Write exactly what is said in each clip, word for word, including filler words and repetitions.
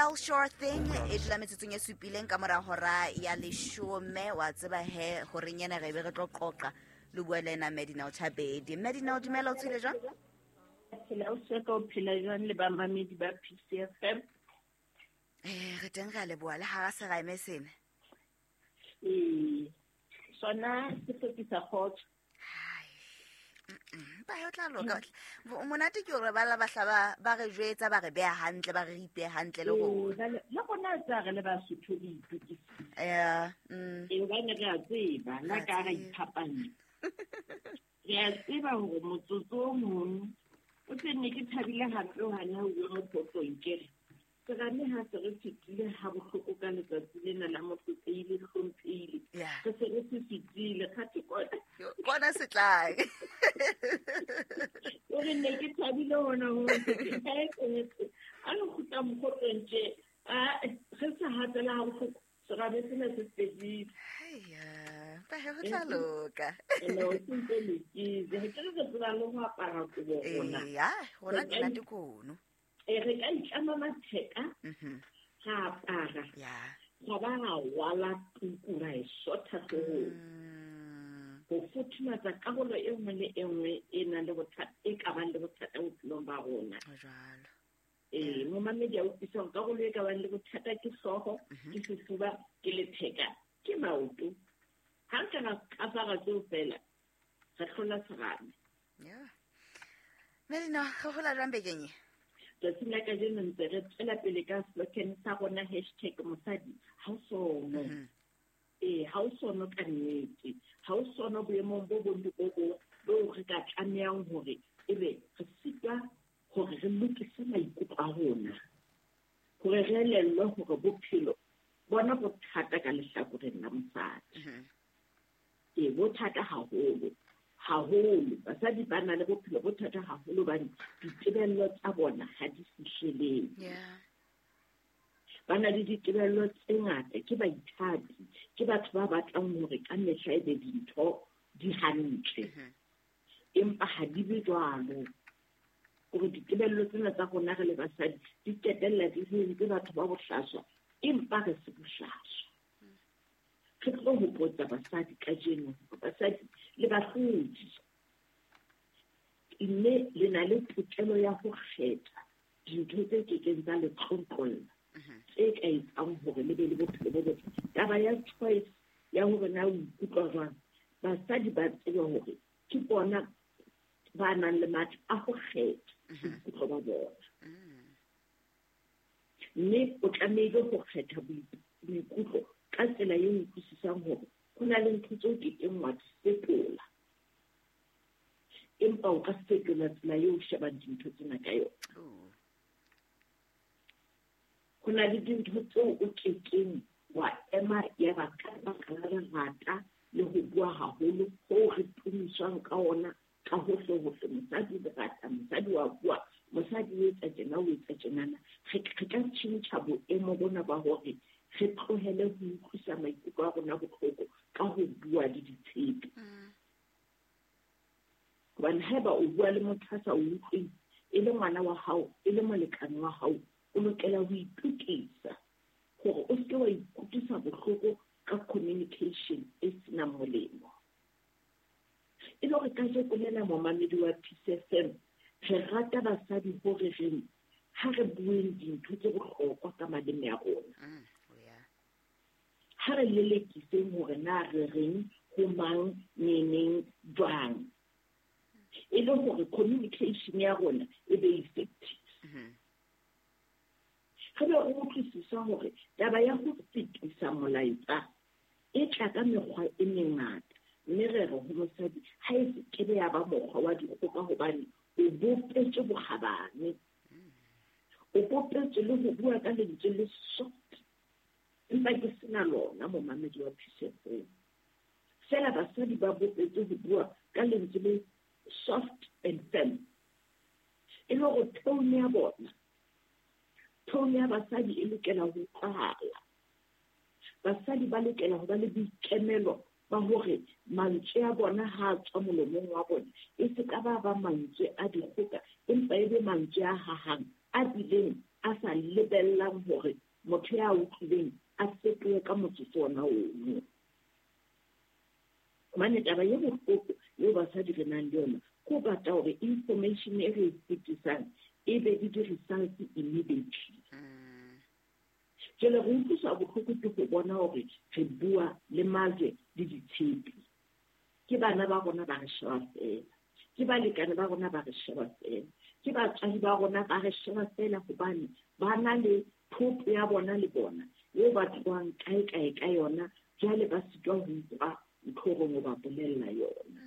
L Sure Thing e dula metsotsong e supileng ka mora hora ya leshome. Wa tseba he horeng ena re be re tlo qoqa le bua le ena Medina Chabedi. Medina, o dumela, o tshwele jwang? Phela o se ka o phela jwang le bamamedi ba P C F M? Eh, re teng, re a leboha le hara serame sena. Ee, sona se hlokisa kgotso. Ba ho tla loka. Monate ke hore ba la bahla ba ba re jwetsa, ba re beha hantle, ba re ripe hantle le rona. Le rona tsa re le Basotho le itokisitse. Yeah. Mm. E hobane re a tseba, la ka re iphapanya. Re a tseba hore motsotso o mong o tse ne ke thabile hampe hane ha o bua mophotlong ke re serame ha se re fetile ha bohloko ka letsatsi lena la motlotleile le hlomphehile. Re se re se fetile kgathe kona. Kona se tlang. O re ne ke thabile hona ho a re kgutla mokgotlong tje, a re se hatela ha bohloko serame sena se fedile. Haiya, ba he ho tla loka. Ene o sentse lokile. Re ke re tseba le ho apara kobo rona. Eya, rona ke nate kono. E re ka itlama matheka, ra apara, ra ba ra rwala tuku ra e sotha hloohong. Ho futhumatsa karolo e nngwe le e nngwe e nang le bothata, e ka bang le bothata bophelong ba rona. Jwalo. Ee, momamedi a utlwisisa hore karolo e ka bang le bothata ke hlooho, ke sefuba, ke letheka, ke maoto. Ha re ka ra kafara tseo feela, re hlola serame. Yeah. Medina, re hola jwang bekeng e? Tsatsing la kajeno ntse re tswela pele ka slogan sa rona hashtag mosadi ha o sono. Ee, ha o sono ka nnete. Ha o sono boemong bo bong le bo bong boo re ka tlamehang hore ebe re sitwa hore re lokise maikutlo a rona. Hore re elellwe hore bophelo bona bo thata ka lehlakoreng la mosadi. Ee, bo thata haholo. Haholo basadi ba na le bophelo bo thata haholo hobane ditebello tsa bona ha di fihlelele. Ba na le ditebello tse ngata, ke baithati, ke batho ba batlang hore ka mehla e be dintho di hantle. Empa ha di be jwalo. Hore ditebello tsena tsa rona re le basadi di qetella di re entse batho ba bohlaswa, empa re se bohlaswa. Re tlo hopotsa basadi kajeno, basadi le bahlodi, mme le na le tokelo ya ho kgetha dintho tse kekeng tsa le tlontlolla, tse ka etsang hore le be le bophelo bo botle. Taba ya choice ya hore na o ikutlwa jwang, basadi ba tsebe hore ke bona ba nang le matla a ho kgetha boikutlo ba bona. Mme o tlamehile ho kgetha boikutlo ka tsela eo o utlwisisang hore ho na le ntho tseo ke keng wa di fetola, empa o ka fetola tsela eo o shebang dintho tsena ka yona. Ho na le dintho tseo o kekeng wa ema ya ba ka baka la lerata le ho bua haholo hoo re tumiswang ka ona ka hohle hohle. Mosadi lerata, mosadi wa bua, mosadi o etsa tjena, o etsa tjenana. Re ka tjhentjha boemo bona ba hore re tlohele ho utlwisa maikutlo a rona bohloko ka ho bua le ditshepe. Hobane haeba o bua le motho a sa o utlweng, e le ngwana wa hao, e le molekane wa hao, o lokela ho itokisa hore o seke wa ikutlwisa bohloko ka communication e senang molemo. E le hore kajeko lena momamedi wa P C F M, re rata basadi hore re ha re bueng dintho tse bohlokwa ka maleme a rona. Ha re lelekiseng hore na re reng ho mang, neneng, jwang. E le hore communication ya rona e be effective. Re be re utlwisisa hore taba ya ho fetisa molaetsa e tla ka mekgwa e mengata, mme re re ho mosadi ha e se kebe ya ba mokgwa wa dikgoka hobane o bopetswe bokgabane. O bopetswe le ho bua ka lentswe le soft. Empa ke sena lona momamedi wa P C F M. Feela basadi ba bopetswe ho bua ka lentswe le soft and firm. E le hore tone ya bona, tone ya basadi e lokela ho utlwahala. Basadi ba lokela ho ba le boikemelo ba hore mantswe a bona ha a tswa molomong wa bona e se ka ba ba mantswe a dikgoka, empa e be mantswe a hahang, a bileng a sa lebellang hore motho ya utlwileng a fetohe ka motsotso ona ono. Hobane taba e bohloko eo basadi re nang le yona ke ho batla hore information e re e fetisang e be le di-results immediately. Jwale re utlwiswa bohloko ke ho bona hore re bua le majwe le ditshepe. Ke bana ba rona ba re sheba feela, ke balekane ba rona ba re sheba feela, ke batswadi ba rona ba re sheba feela hobane ba na le thoto ya bona le bona eo ba tlohang kae kae ka yona, jwale ba sitwa ho utlwa ntho e reng o ba bolella yona.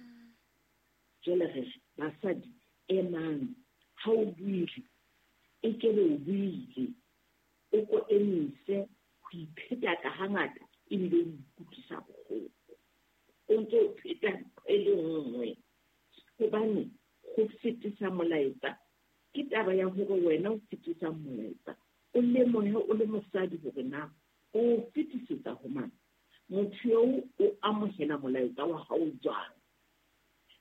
Jwale re re basadi emang, ha o buile e kebe o buile, o ko emise ho ipheta ka hangata ebile o ikutlwisa bohloko. O ntse o pheta ntho e le nngwe hobane ho fetisa molaetsa ke taba ya hore wena o fetisang molaetsa o lemohe o le mosadi hore na o fetisetsa ho mang, motho eo o amohela molaetsa wa hao jwang,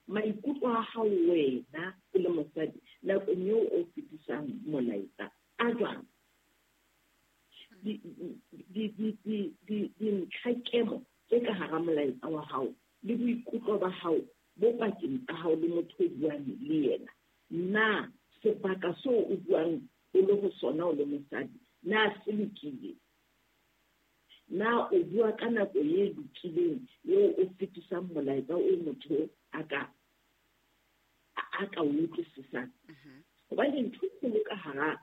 maikutlo a hao wena o le mosadi nakong eo o fetisang molaetsa a jwang. Dintlhakemo tse ka hara molaetsa wa hao le boikutlo ba hao bo pakeng tsa hao le motho o buang le yena, na sebaka seo o buang o le ho sona o le mosadi na se lokile, na o bua ka nako e lokileng eo o fetisang molaetsa o motho a ka a ka o utlwisisang. Hobane ntho e kgolo ka hara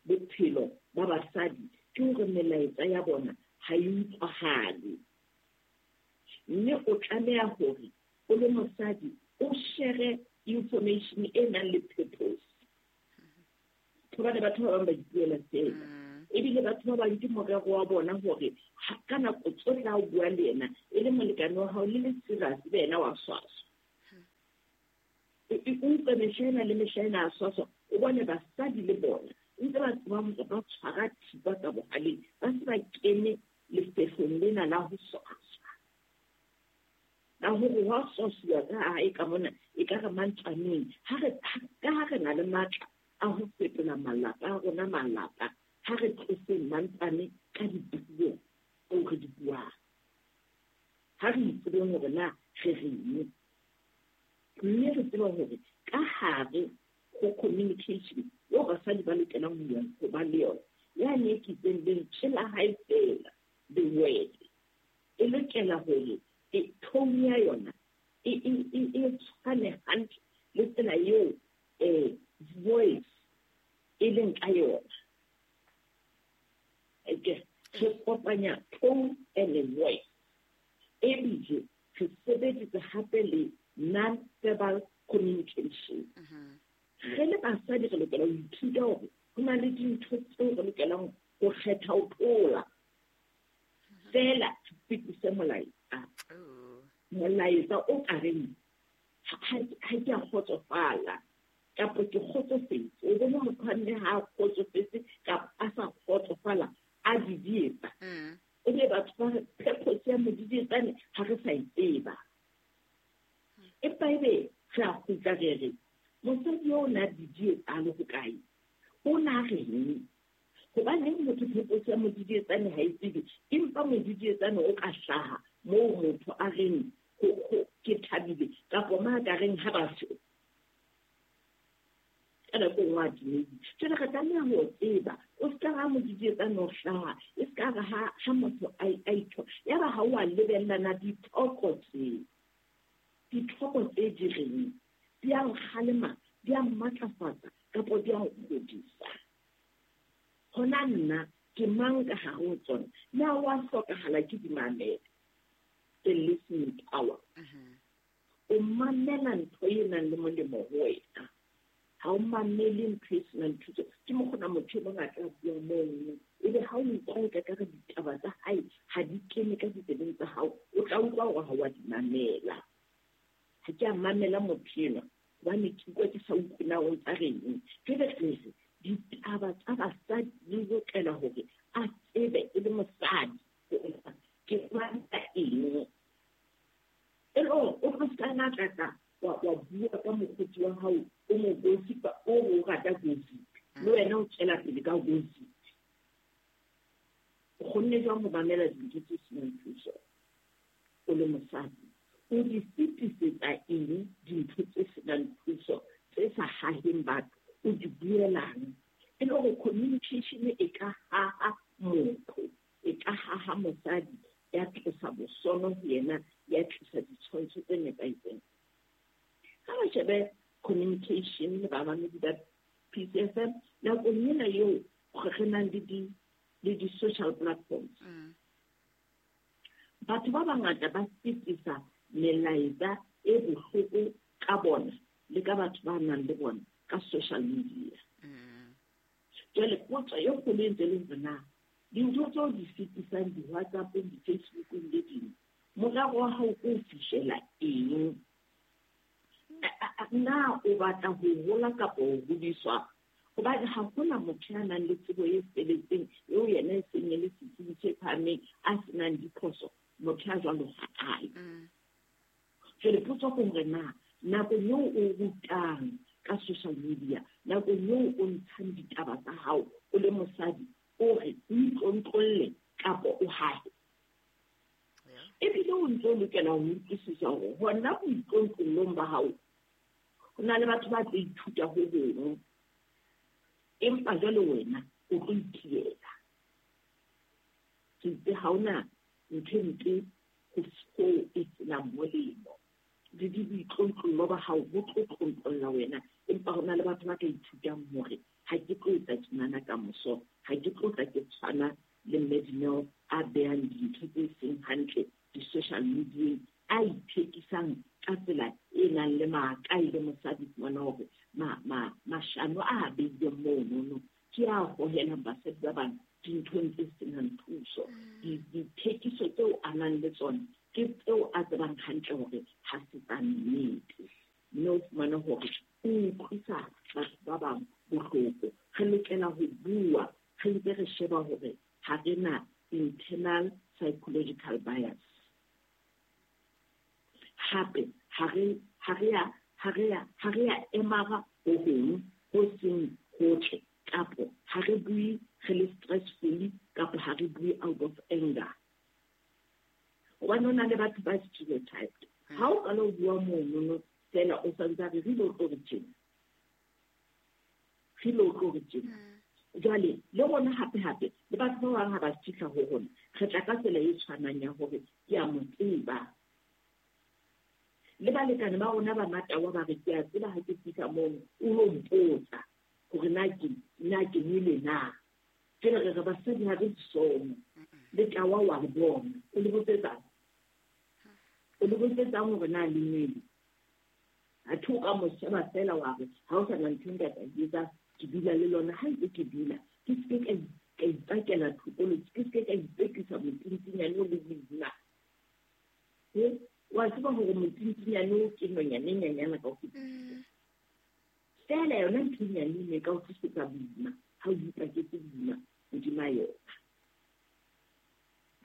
bophelo ba basadi ke hore melaetsa ya bona ha e utlwahale, mme o tlameha hore o le mosadi o share information e nang le purpose. Hobane batho ba bang ba ipuela feela, ebile batho ba bang ke morero wa bona hore ka nako tsohle ha o bua le yena e le molekane wa hao le le serious, be yena wa swaswa. O utlwe mehla ena le mehla ena a swaswa, o bone basadi le bona ntse ba tseba hore ba tshwara thipa ka bohaleng, ba se ba kene lefehlong lena la ho swaswa. La hore hwa swasuwa ka hae ka mona ekare mantswaneng. Ha re ka ha re na le matla a ho fetola malapa a rona malapa, ha re tloseng mantswane ka dipuo tseo re di buang. Ha re itsebeng hore na re reng, mme re tsebe hore ka hare ho communication eo basadi ba lokelang ho ya ho ba le yona, yane e ke itseng lentswe la hae feela, the word, e lokela hore e tone ya yona e e e tshwane hantle le tsela eo eh voice e leng ka yona. Eke re kopanya tone and a voice, ebile re sebedisa hape le non-verbal communication. Re le basadi re lokela ho ithuta hore ho na le dintho tseo re lokelang ho kgetha ho tlola feela re fetise molaetsa. Molaetsa o ka reng ha ke a kgotsofala kapa ke kgotsofetse. O bone motho a nne ha a kgotsofetse kapa a sa kgotsofala a didietsa. Ebe batho ba re purpose ya modidietsane ha re sa e tseba. Empa ebe re a kgutla re re mosadi eo o na didietsa a le hokae, o na reng? Hobaneng motho purpose ya modidietsane ha e tsebe, empa modidietsane o ka hlaha moo motho a reng ke thabile kapa ma ka reng ha ba se ka nako e nngwe a timeditse. Jwale re tlameha ho tseba, o se ka ra modidietsane o hlaha, e se ka re ha motho a itho ya ba ha o a lebellana dithoko tse dithoko tse di reng di a nkgalema, di a mmatlafatsa kapa di a nkgodisa. Hona nna ke mang ka hare ho tsona? Na wa hlokahala ke di mamele? The listening power. O mamela ntho e nang le molemo ho wena. Ha o mamele ntho e senang thuso. Ke mokgona motho e mong a tla bua mono, ebe ha o utlwa e ka re ditaba tsa hae ha di kene ka ditsebeng tsa hao, o tla utlwa hore ha o a di mamela. Ha ke a mamela motho enwa hobane ke utlwa ke sa utlwe na o ntsa reng. Jwale re re ditaba tsa basadi di lokela hore a tsebe e le mosadi ke batla eng. E le hore o tlo ska na tla wa wa bua ka mokgotsi wa hao o mo gossipa, o o rata gossip, le wena o tswela pele ka gossip. O kgonne jwang ho mamela dintho tse senang thuso o le mosadi? O di fetisetsa eng dintho tse senang thuso tse sa haheng batho? O di buelang? E le hore communication e ka haha motho, e ka haha mosadi, ya tlosa bosono ho yena, ya tlisa ditshwantsho tse nepahetseng. Ha re shebe communication le bamamedi ba P C F M nakong ena eo re nang le di le di-social platforms. Mm. Batho ba bangata ba fetisa melaetsa e bohloko ka bona le ka batho ba nang le bona ka social media. Mm. Jwale potso e kgolo e ntse e le hore na dintho tseo di fetisang di-WhatsApp-ong, di-Facebook-ong le ding, morero wa hao ke ho fihlela eng? Na o batla ho hola kapa ho hodiswa? Hobane ha hona motho ya nang le tsebo e feletseng eo yena e seng e le setsebi se phahameng a senang diphoso, motho ya jwalo ha a yo. Mm. Jwale potso ke hore na nakong eo o rutang ka social media, nakong eo o ntshang ditaba tsa hao o le mosadi, o re o itlontlolle kapa o hahe? Ebile o ntse o lokela ho utlwisisa hore hona boitlontlollong ba hao ho na le batho ba tlo ithuta ho hong, empa jwale wena o tlo ithiela. Ke itse ha hona ntho e mpe ho seo e senang molemo. Le di boitlontlollong ba hao bo tlo tlontlolla wena, empa ho na le batho ba ka ithutang hore ha ke tlo etsa tjenana kamoso, ha ke tlo tla ke tshwana le Mme Dineo a behang dintho tse seng hantle di-social media-eng, a ithekisang ka tsela e nang le maaka e le mosadi, fumana hore ma-, ma-, mashano a beileng monono ke a hohelang basadi ba bang dinthong tse senang thuso. Mm. Di-, dithekiso tseo a nang le tsona ke tseo a tsebang hantle hore ha se tsa nnete. Mme o fumane hore o utlwisa batho ba bang bohloko. Re lokela ho bua re ntse re sheba hore ha re na internal psychological bias. Hape ha re, ha re ya, ha re ya, ha re ya emara ho hong ho seng hotle, kapo ha re bue re le stressful, kapo ha re bue out of anger. Hobane ho na le batho ba stereotyped. Ha o qala ho bua monono fela o santse a re re lo tlo re tjena, re lo tlo re tjena. Mm. Jwale le rona hape hape le batho ba bang ha ba fihla ho rona, re tla ka tsela e tshwanang ya hore ke a mo tseba. Le balekane ba rona ba matawa ba re ke a tseba ha ke fihla mono o lo mpotsa hore na ke, na ke nwele na. Jwale re re basadi ha re disomo, le tawa wa re bona, o le botsetsang? O le botsetsang hore na le nwele? Athe o ka mo sheba feela wa re ha o sa na ntho e nka ka e etsa, ke dula le lona. Ha ntse ke dula, ke se ke ka i-, ka ipakela thokolo, ke se ke ka ipekisa motintinyane o le boima. He, wa tseba hore motintinyane o ke nonyane e nyenyane ka ho fetisisa. Mm. Feela yona ntho e nyane eno e ka o tlisetsa boima ha o ipaketse boima hodima yona.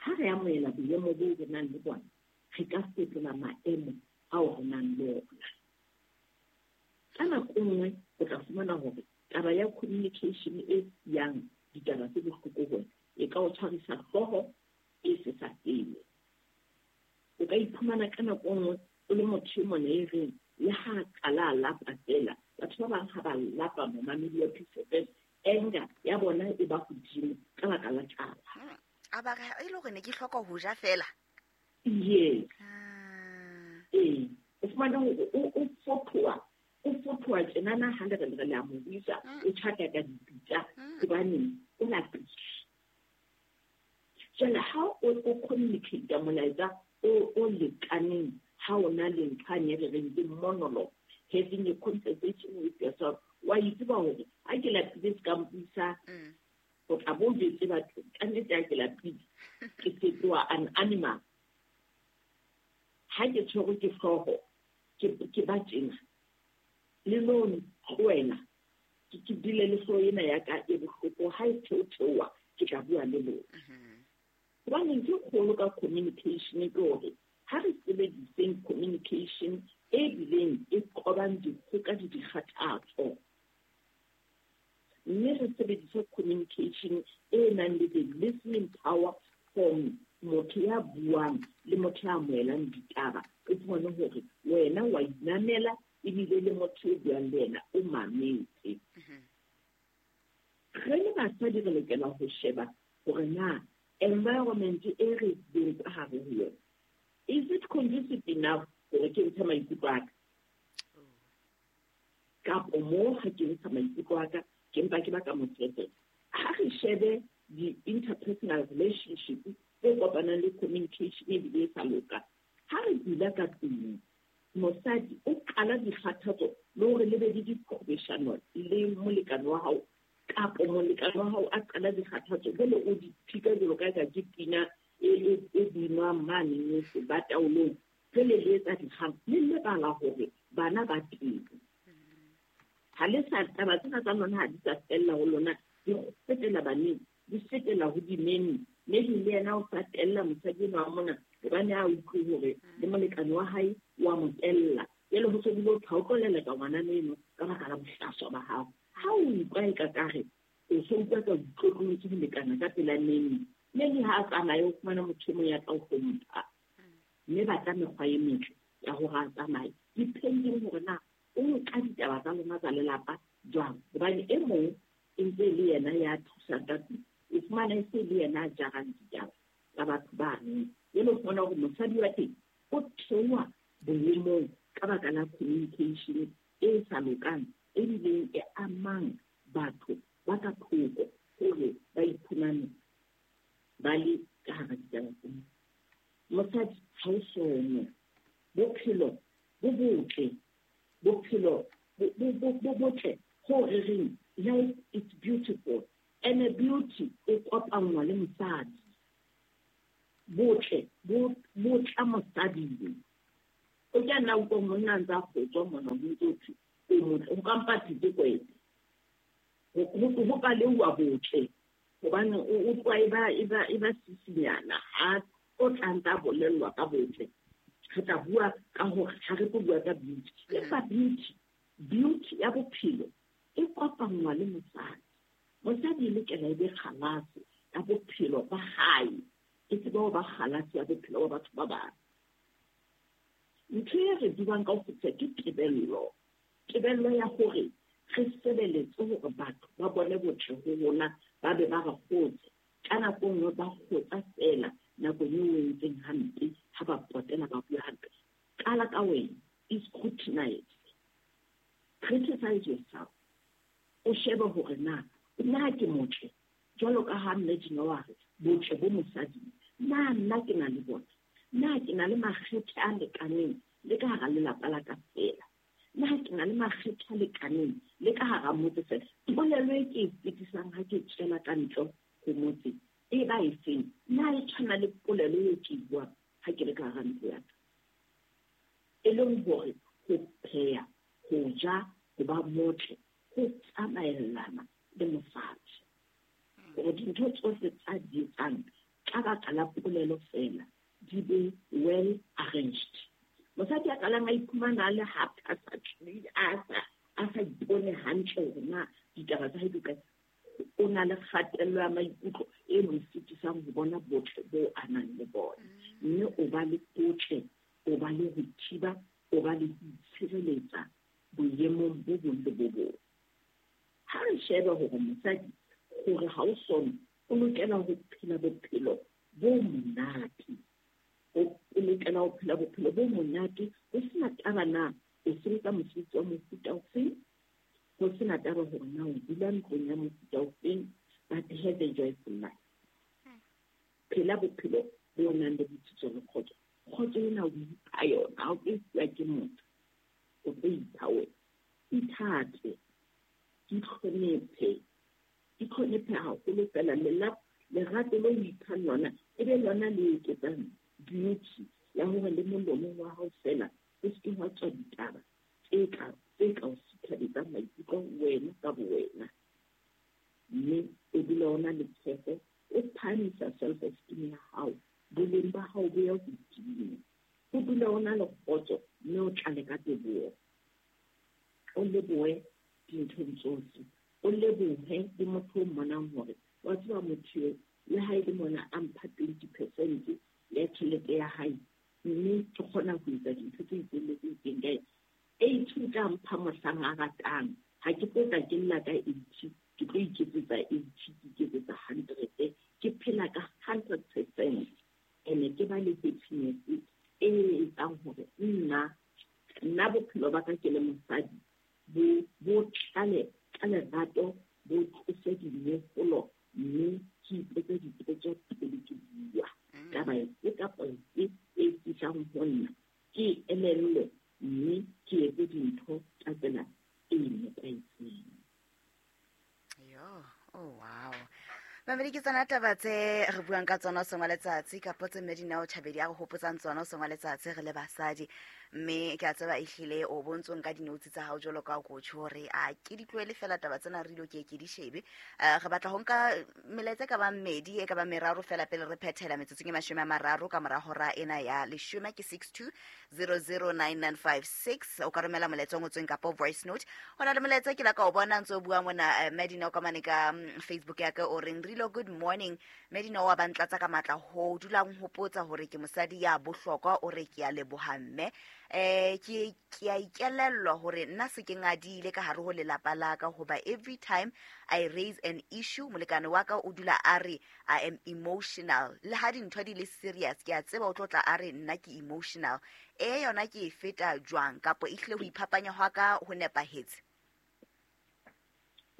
Ha re amohela boemo boo re nang le bona, re ka fetola maemo ao re nang le ona. Ka nako e nngwe o tla fumana hore taba ya communication e yang ditaba tse bohloko ho wena e ka o tshwarisa hlooho e se sa fele. O ka iphumana ka nako e nngwe o le motho e mona e reng le ha a qala a lapa fela, batho ba bang ha ba lapa momamedi wa P C F M, anger ya bona e ba hodimo ka baka la tlala. Hmm. A ba re, e le hore ne ke hloka ho ja fela? Yes. Ah. Ee, o fumana hore o, o fothoa, o fothoa tjenana ha le re le re le a mo buisa, Mm. o tjhaka ka dipitsa, Mm. hobane o lapile. Jwale ha o, o communicate molaetsa o, o lekaneng, ha o na le ntho ane re reng ke monologue, having a conversation with yourself, wa itseba hore ha ke lapile se ka mpuisa, Mm. o tla bo o jwetse batho, ka nnete ha ke lapile, ke fetoha an animal. Ha ke tshwerwe ke hlooho, ke, ke ba tjena. Le lo ntlohela, ke, ke dule le hlooho ena ya ka e bohloko, ha e theotheoha, ke tla bua le lona. Mm-hmm. Hobane ntho e kgolo ka communication ke hore ha re sebediseng communication e bileng e qobang dikgoka le dikgathatso. Mme re sebedise communication e nang le the listening power from motho ya buang le motho ya amohelang ditaba. O fumane hore wena wa inamela ebile le motho o buang le yena o mametse. Re le basadi re lokela ho sheba hore na environment e re leng ka hare ho yona, is it conducive enough hore ke ntshe maikutlo a ka? Kapo moo ha ke ntsha maikutlo a ka, ke mpa ke baka moferefere. Ha re shebe di-interpersonal relationship tse kopanang le communication ebile e sa loka. Ha re dula ka tlung, mosadi o qala dikgathatso le hore le be le diqhobeshano le molekane wa hao, kapo molekane wa hao a qala dikgathatso, jwale o di phika jwalo ka eka ke pina e, e, e binwang mane ba taolong. Jwale le etsa dikgang, le lebala hore bana ba teng. Ha le sa taba tsena tsa lona ha di sa fella ho lona, di fetela baneng, di fetela ho dimeni. Maybe le yena o sa tella mosadi enwa wa mona, hobane a utlwe hore le molekane wa hae wa mo tella. Jwale ho se bile ho thwe ha o tlo leleka ngwana eno ka baka la bohlaswa ba hao. Ha o utlwa eka kare o so utlwa ka o itlotlollotse ho lekana ka pela nene, maybe ha a tsamaye o fumana motho e mong ya tla o hlompha. Mme batla mekgwa e metle ya hore a tsamaye, depending hore na o nka ditaba tsa lona tsa lelapa jwang. Hobane e mong e ntse e le yena ya thusang ka tlung, o fumana e se le yena a jarang ditaba tsa batho bano. Jwale o fumana hore mosadi wa teng o theoha boemong ka baka la communication e sa lokang, ebileng e amang batho ba ka thoko hore ba iphumane ba le ka hara ditaba tsena. Mosadi ha o sono, bophelo bo botle, bophelo bo, bo, bo botle ho re reng life is beautiful, and a beauty e kopanngwa le mosadi. Botle bo, bo tla mosading. O ka nna utlwa monna a ntse a kgotswa mona, ho ntse ho thwe o motle, o ka mpa thete kwete. Ho, ho, ho paleuwa botle, hobane o utlwa e ba, e ba, e ba sisinyana ha o tla ntse a bolellwa ka botle. Re tla bua ka hore ha re tlo bua ka beauty. Empa beauty, beauty ya bophelo e kopanngwa le mosadi. Mosadi e lokela e be kgalase ya bophelo ba hae, e tsebe ho ba kgalase ya bophelo ba batho ba bang. Ntho e re buang ka ho fetisa ke tebello. Tebello ya hore re sebeletse hore batho ba bone botle ho rona, ba be ba re kgotse. Ka nako e nngwe ba kgotsa feela nakong eo o entseng hampe, ha ba potela ba bua hampe. Qala ka wena, scrutinize. Criticize yourself. O shebe hore na, na ke motle, jwalo ka ha Mme Dineo a re, botle bo mosading. Na nna ke na le bona? Na ke na le makgethe a lekaneng le ka hara lelapa la ka feela? Na ke na le makgethe a lekaneng le ka hara motse feela? Polelo e ke e fetisang ha ke tswela ka ntle ho motse e ba efeng? Na e tshwana le polelo eo ke e buang ha ke le ka hara ntlo ya ka? E leng hore ho pheha, ho ja, ho ba motle, ho tsamaellana le mosadi. Hore dintho tsohle tsa di etsang ka baka la polelo feela di be well arranged. Mosadi a qalang a iphumana a le haphazardly, a sa, a sa ipone hantle hore na ditaba tsa hae di kae, o na le kgatello ya maikutlo e mo sitisang ho bona botle bo a nang le bona. Mme o ba le botle, o ba le ho thiba, o ba le ho itshireletsa boemong bo bong le bo bong. Ha re shebe hore mosadi, hore ha o sono, o lokela ho phela bophelo bo monate. O lokela ho phela bophelo bo monate, ho sena taba na o sebetsa mosebetsi wa mofuta ofeng, ho sena taba hore na o dula ntlong ya mofuta ofeng, but have a joyful life. Phela bophelo bo nang le botsitso le kgotso. Kgotso ena o ipha yona, ha o tlo e fuwa ke motho, o tlo ipha wena. Ithate, itlhonephe, itlhonephe haholo fela. Lerato leo o iphang lona e be lona le eketsang beauty ya hore le molomong wa hao fela o se ke wa tswa ditaba tse ka, tse ka o sithabetsang maikutlo wena ka bowena. Mme o dula o na le tshepo, o phahamisa self-esteem ya hao, boleng ba hao bo ya hodimo. O dula o na le kgotso mme o tlale ka teboho. O lebohe dinthong tsohle, o lebohe Wa tseba motho eo le ha e le mona a mpha twenty percent ya tjhelete ya hae, mme ke kgona ho etsa dintho tse itseng le tse itseng ka ena. Eighty o tla mpha mohlang a ratang. Ha ke tlo tla ke lla ka eighty, ke tlo iketsetsa eighty, ke iketsetsa hundred, ke phela ka hundred percent. Ene ke ba le happiness e etsang hore nna, nna bophelo ba ka ke le mosadi bo, bo tlale ka lerato, bo tlose dinyefolo, mme ke ipotse dipotso pele ke bua. Taba efe kapa efe e fihlang ho nna, ke elellwe mme ke etse dintho ka tsela e nepahetseng. Yo, oh wow. Mamedi, ke tsona taba tse re buang ka tsona hoseng wa letsatsi, kapa tse Mmedineo Chabedi a re hopotsang tsona hoseng wa letsatsi re le basadi. Mme ke a tseba ehlile o bontsong ka di-notes tsa hao jwalo ka coach hore a ke di tlohele fela taba tsena re dilo ke ke di shebe. Eh, re batla ho nka melaetsa e ka bang mmedi, e ka bang meraro fela pele re phethela metsotsong e mashome a mararo ka mora hora ena ya leshome, ke six two zero zero nine nine five six. O ka romela molaetsa o ngotsweng kapa voice note. Ho na le molaetsa ke la ka o bona ntse o bua mona, eh, Mmedineo ka mane ka, mm, Facebook ya ka o reng, Rilo, good morning. Mmedineo wa ba ntlatsa ka matla ho dulang hopotsa hore ke mosadi ya bohlokwa, o re ke a leboha mme. Eh, ke, ke a ikelellwa hore nna se ke ngadile ka hare ho lelapa la ka, hoba every time I raise an issue, molekane wa ka o dula a re I am emotional. Le ha dintho di le serious, ke a tseba o tlo tla a re nna ke emotional. E yona ke e feta jwang, kapa ehlile ho iphapanya hwa ka ho nepahetse?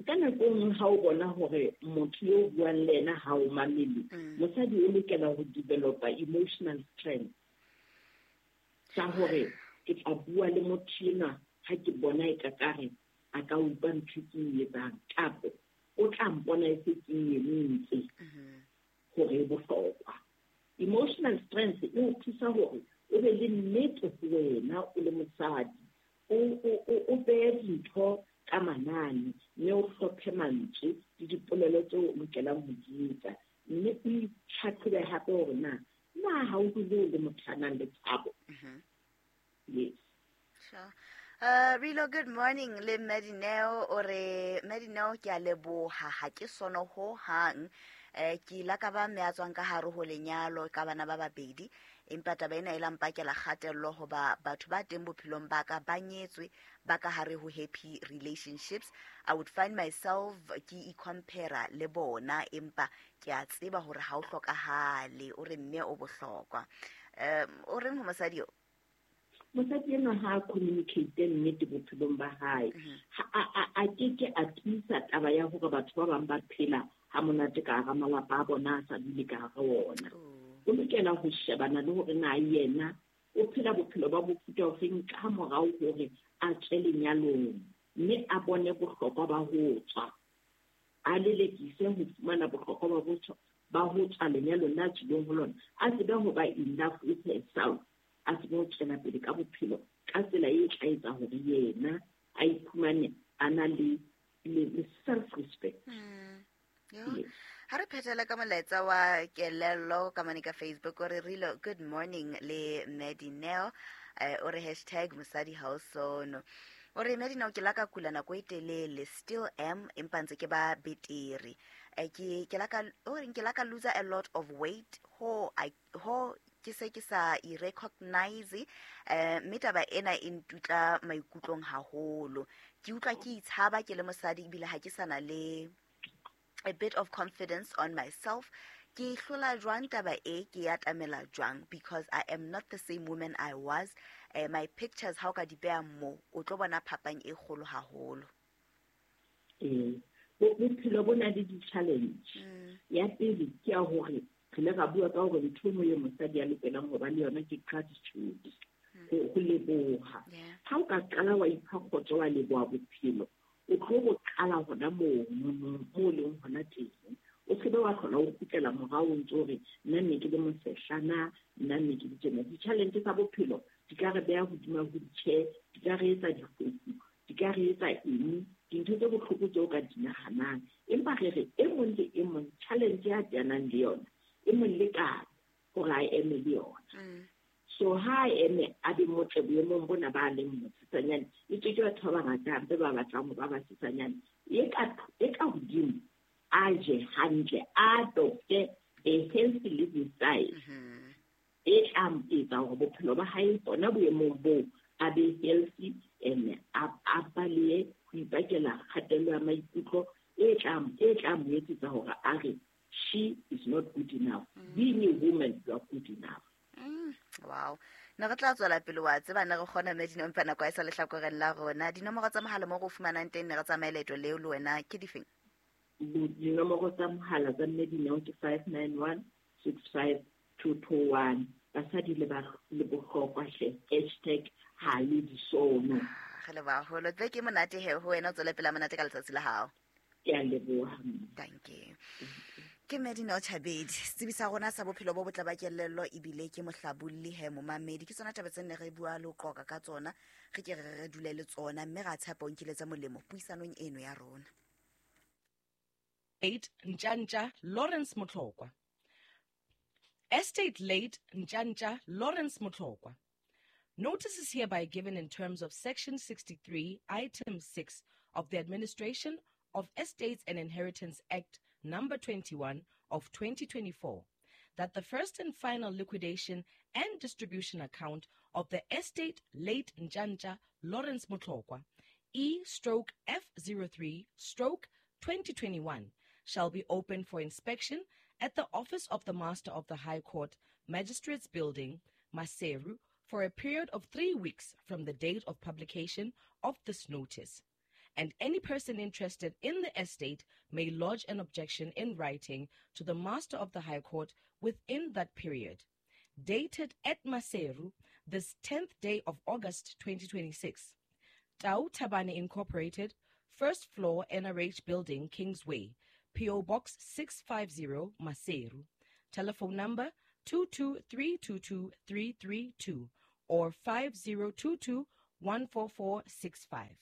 Ka nako e nngwe ha o bona hore motho yo o buang le yena ha o mamele, Mm. mosadi o lokela ho developa emotional strength. Sa hore ke tla bua le motho enwa ha ke bona e ka kare a ka utlwa ntho ke e etsang, kapa o tla mpona e se ke e entse Mm-hmm. hore e bohlokwa. Emotional strength e o thusa hore o be le nnete ho wena o le mosadi, o, o, o, o behe dintho ka manane, mme o hlophe mantswe le dipolelo tseo o lokelang ho di etsa, mme o itlhatlhobe hape hore na, na ha o dule o le motho a nang le tshabo. Mm-hmm. Yes. Sure. Uh, Rilo, good morning. Le Mmedineo, o re Mmedineo ke a leboha, ha ke sono ho hang. Eh, ke ile ka ba mme a tswang ka hare ho lenyalo ka bana ba babedi, empa taba ena e la mpakela kgatello hoba batho ba teng bophelong ba ka ba nyetswe, ba ka hare ho happy relationships. I would find myself ke i-compare le bona, empa ke a tseba hore ha o hlokahale. O re mme o bohlokwa. Um, o reng ho mosadi eo? Mosadi enwa ha a communicate nnete bophelong ba hae. Mm-hmm. Ha a, a, a ke ke a tiisa taba ya hore batho ba bang ba phela ha monate ka hara malapa a bona, a sa dule ka hara ona. Oh. O lokela ho shebana le hore na yena o phela bophelo ba mofuta ofeng ka morao hore a tswe lenyalong, mme a bone bohlokwa ba ho tswa. A lelekise ho fumana bohlokwa ba ho tswa, ba ho tswa lenyalong la tswileng ho lona. A tsebe ho ba in love with herself, a tsebe ho tswela pele ka bophelo ka tsela e tla etsa hore yena a iphumane a na le, le, le self-respect. Mm. Yo. Yes. Ha re phethela ka molaetsa wa kelello ka mane ka Facebook, o re Rilo, good morning le Mmedineo. Eh, o re hashtag mosadi ha o sono. O re Mmedineo, ke la ka kula nako e telele, still am, empa ntse ke ba betere. Eh, ke, ke la ka, o reng ke la ka lose a lot of weight, ho, I, ho ke se ke sa i-recognize, eh, mme taba ena e ntutla maikutlong haholo. Ke utlwa ke itshaba ke le mosadi, ebile ha ke sa na le a bit of confidence on myself. Ke hlola jwang taba e, ke ya atamela jwang, because I am not the same woman I was. Eh, my pictures ha o ka di beha mo, o tlo bona phapang e kgolo haholo. Eh, bo-, bophelo bo na le di-challenge. Mm. Ya pele ke ya hore re ile ra bua ka hore ntho e nngwe e mosadi a lokelang ho ba le yona ke gratitude, Mm. ho, ho leboha. Yeah. Ha o ka qala wa ipha kgotso wa leboha bophelo, o tlo bo qala hona moo, moo, moo leng hona teng. O se be wa hlola o kgutlela morao o ntso o re, nna ne ke le mosehlana, nna ne ke le tjena. Di-challenge tsa bophelo di ka re beha hodima wheelchair, di ka re etsa difofu, di ka re etsa eng, dintho tse bohloko tseo o ka di nahanang. Empa re re e mong le e mong challenge ya teanang le yona, e mong le ka hore a eme le yona. Mm. So ha a eme a be motle boemong bona ba leng mosesanyane, e tswe ke batho ba bangata hampe ba batlang ho ba basesanyane. E ka, e ka hodimo a je hantle, a adopte a healthy living style. E tla etsa hore bophelo ba hae bona boemong boo a be healthy and a balehe ho ipakela kgatello ya maikutlo e tla e tla mo etsetsa hore a re she is not good enough. Being a woman, you are good enough. Mm, wow. Ne re tla tswela pele wa tseba ne re kgona mme dinompa nako e sa lehlakoreng la rona. Dinomoro tsa mohala mo go fumanang teng ne re tsamaye leeto leo le wena ke difeng? Dinomoro tsa mohala tsa mme Dineo ke five nine one six five two two one. Basadi le ba le bohlokwa hle. Hashtag ha le disono. Re leboha haholo. Tse ke monate he ho wena o tswele pele monate ka letsatsi la hao. Ke a leboha. Thank you. Ke Medina Chabedi, setsebi sa rona sa bophelo bo botle ba kelello ebile ke mohlabolli he momamedi. Ke tsona taba tse ne re bua le ho qoqa ka tsona, re ke re re dule le tsona mme ra tshepa o nkile tsa molemo puisanong eno ya rona. Late Ntjantja Lawrence Motlokwa. Estate late Ntjantja Lawrence Motlokwa. Notice is hereby given in terms of Section sixty-three, Item six of the Administration of Estates and Inheritance Act Number twenty-one of twenty twenty-four, that the first and final liquidation and distribution account of the estate late Ntjantja Lawrence Motlokwa, E stroke F zero three stroke twenty twenty-one, shall be open for inspection at the office of the Master of the High Court, Magistrates Building, Maseru, for a period of three weeks from the date of publication of this notice. And any person interested in the estate may lodge an objection in writing to the Master of the High Court within that period. Dated at Maseru, this tenth day of August twenty twenty-six. Tau Tabane Incorporated, first floor N R H Building, Kingsway, P O Box six five zero, Maseru. Telephone number two two three two two three three two or five zero two two one four four six five.